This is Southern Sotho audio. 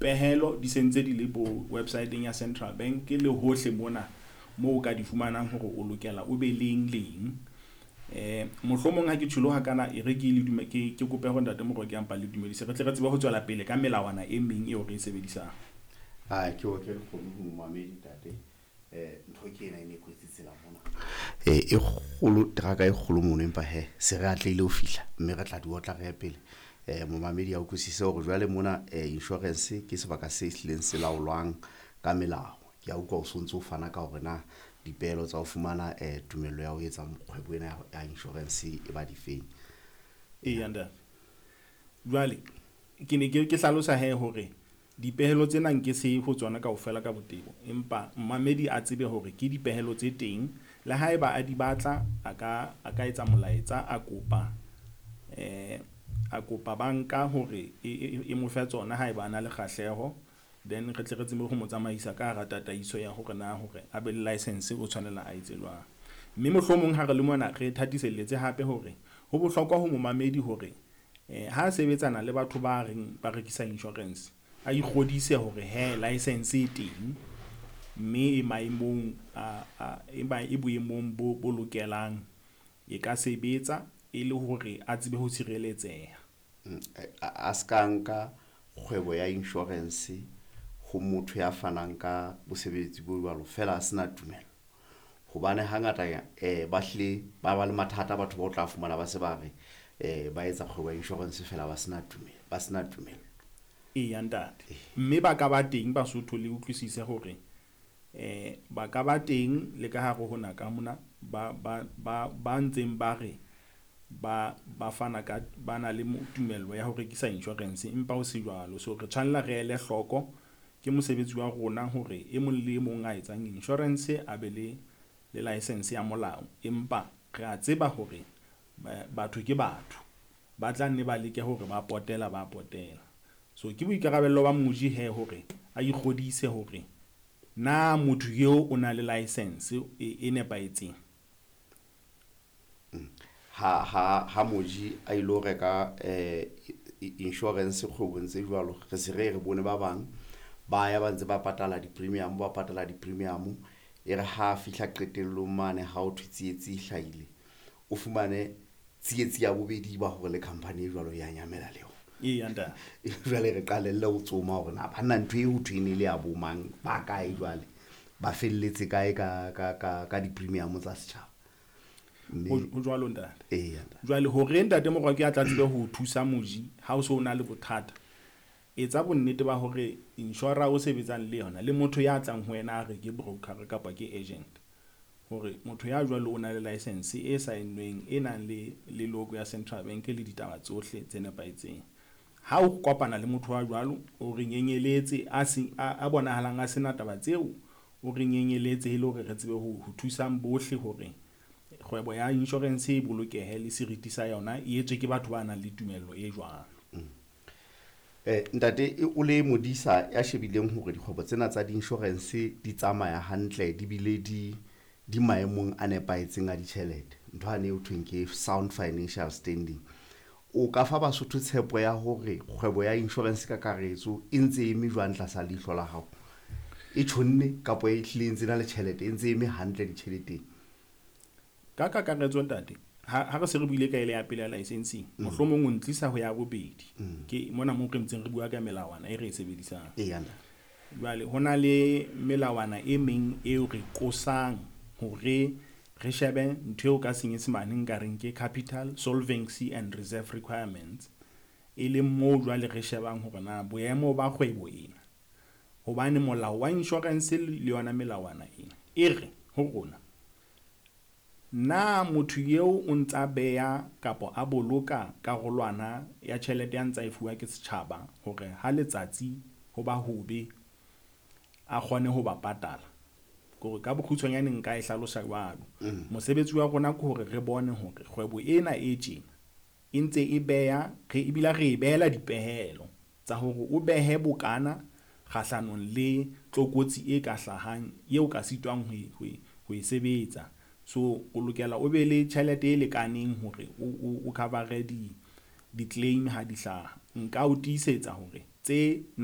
Dipehelo di sentse di le bo website-eng ya Central Bank le hohle mona moo o ka di fumanang hore o lokela o be leng leng. Mohlomong ha ke tjholo hakana, e re ke le dume ke kope hore ntate Moroke a mpa le dumedise, re tle re tsebe ho tswela pele ka melawana e meng eo re e sebedisang. A ke otle lekgomo ho momamedi ntate. Ntho ke ena e ne e kwetse tsela mona, e kgolo, teraka e kgolo mono, empa he se re atlehile ho fihla, mme re tla di otla re ye pele. Momamedi a utlwisise hore jwale mona insurance ke sebaka se hlileng se laolwang ka melao. Ke a utlwa o sontso o fana ka hore na dipehelo tsa ho fumana tumello ya ho etsa kgwebo ena ya insurance e ba difeng. Eya ntate, jwale ke ne ke hlalosa he hore dipehelo tsena nke se ho tsona kaofela ka botebo, empa mmamedi a tsebe hore ke dipehelo tse teng. Le haeba a di batla, a ka etsa molaetsa, a kopa banka hore e mo fe tsona haeba a na le kgahleho. Then re tle re tsebe ho mo tsamaisa ka hara tataiso ya hore na hore a be le license o tshwanela a etse jwang. Mme mohlomong ha re le mona re thatiselletse hape hore ho bohlokwa ho momamedi hore ha a sebetsana le batho ba reng ba rekisa insurance, a ikgodise hore he license e teng, mme e maemong a e boemong bo lokelang, e ka sebetsa e le hore a tsebe ho tshireletseha. A ska nka kgwebo ya insurance ho motho ya fanang ka bosebetsi bo jwalo fela a sena tumello, hobane hangata ba hlile ba ba le mathata. Batho ba o tla fumana ba se ba re ba etsa kgwebo ya insurance fela ba sena tumello, ba sena tumello. Eya ntate, mme ba ka ba teng Basotho, le utlwisise hore ba ka ba teng le ka hare ho naka mona ba ntseng ba re ba fana ka, ba na le tumello ya ho rekisa insurance, empa ho se jwalo. So re tshwanela re ele hloko, ke mosebetsi wa rona hore e mong le e mong a etsang insurance a be le license ya molao. Empa re a tseba hore batho ke batho, ba tla nne ba leke hore ba potela ba potela. So ke boikarabello ba moji he hore a ikgodise hore na motho eo o na le license e nepahetseng. Ha moji a ilo reka insurance kgwebong tse jwalo, re se re bone ba bang ba ya ba ntse ba patala di-premium, ba patala di-premium, e re ha fihla qetellong mane ha o thwe tsietsi e hlahile, o fumane tsietsi ya bobedi ba hore le company e jwalo ya nyamela le yona. Eya ntate. Jwale re qalelle ho tsoma hore na banna ntho e ho thwe e ne le ya bo mang, ba kae, jwale ba felletse kae ka di-premium tsa setjhaba. Ho jwalo ntate. Eya ntate. Jwale hore ntate Morwaki a tla tsebe ho thusa moji ha o so o na le bothata, etsa bonnete ba hore insurer o sebetsang le yona le motho ya tlang ho wena a re ke broker kapa ke agent, hore motho ya jwalo o na le license e saennweng, e nang le logo ya Central Bank le ditaba tsohle tse nepahetseng. Ha o kopana le motho wa jwalo, o re nyenyeletse a se a bonahalang a sena taba tseo, o re nyenyeletse e le hore re tsebe ho thusang bohle hore kgwebo ya insurance e bolokehe le seriti sa yona e etswe ke batho ba nang le tumello e jwalo. Ntate, o le modisa ya shebileng hore dikgwebo tsena tsa di-insurance di tsamaya hantle, di bile di maemong a nepahetseng a ditjhelete, ntho ane ho thweng ke sound financial standing, o ka fa Basotho tshepo ya hore kgwebo ya insurance ka karetso e ntse eme jwang tlasa leihlo la hao? E tjhonne kapa e hlile e ntse na le tjhelete, e ntse eme hantle ditjheleteng? Ka kakaretso ntate, ha re se re buile ka ele ya pele ya licensing, mohlomong o ntlisa ho ya bobedi, ke mona mo re ntseng re bua ka melawana e re e sebedisang. Eya ntate. Jwale ho na le melawana e meng eo re qosang hore re shebe ntho eo ka Senyesemane nka reng ke capital, solvency and reserve requirements, e leng moo jwale re shebang hore na boemo ba kgwebo ena, hobane molao wa insurance le yona melawana ena e re ho rona na motho eo o ntsa beha kapa a boloka karolwana ya tjhelete ya ntsa e fuwa ke setjhaba hore ha letsatsi ho ba hobe a kgone ho ba patala. Kore ka bokgutshwanyane nka e hlalosa jwalo. Mosebetsi wa rona ke hore re bone hore kgwebo ena e tjena e ntse e beha re, ebile re e behela dipehelo tsa hore o behe bokana kgahlanong le tlokotsi e ka hlahang eo ka sitwang ho e sebetsa. So o lokela o be le tjhelete e lekaneng hore o cover di-claim ha di hlaha. Nka o tiisetsa hore tse na